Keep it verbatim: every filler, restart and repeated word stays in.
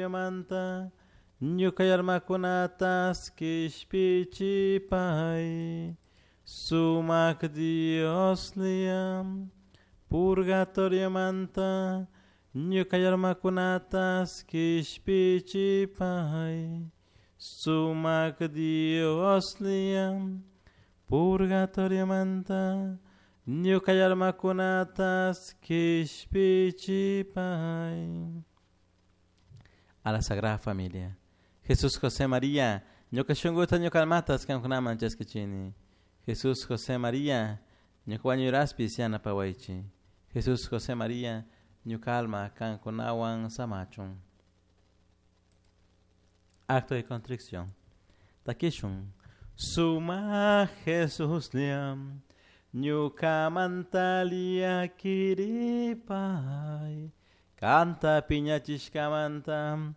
Purgatoriomanta ñuka almakunatas kishpichipay. Sumak Dioslla, purgatoriomanta ñuka almakunatas kishpichipay. Sumak Dioslla, purgatoriomanta ñuka almakunatas kishpichipay. A la Sagrada Familia. Jesús José María, ñuka shunkuta ñuka almatas kankunaman chaskichini. Jesús José María, ñuka wañuraspis yanapawaychi. Jesús José María, ñuka alma kankunawan samachun. Acto de contrición. Takishun. Suma Jesús liam, ñuka mantalia kiripay. Kanta piñachishkamanta,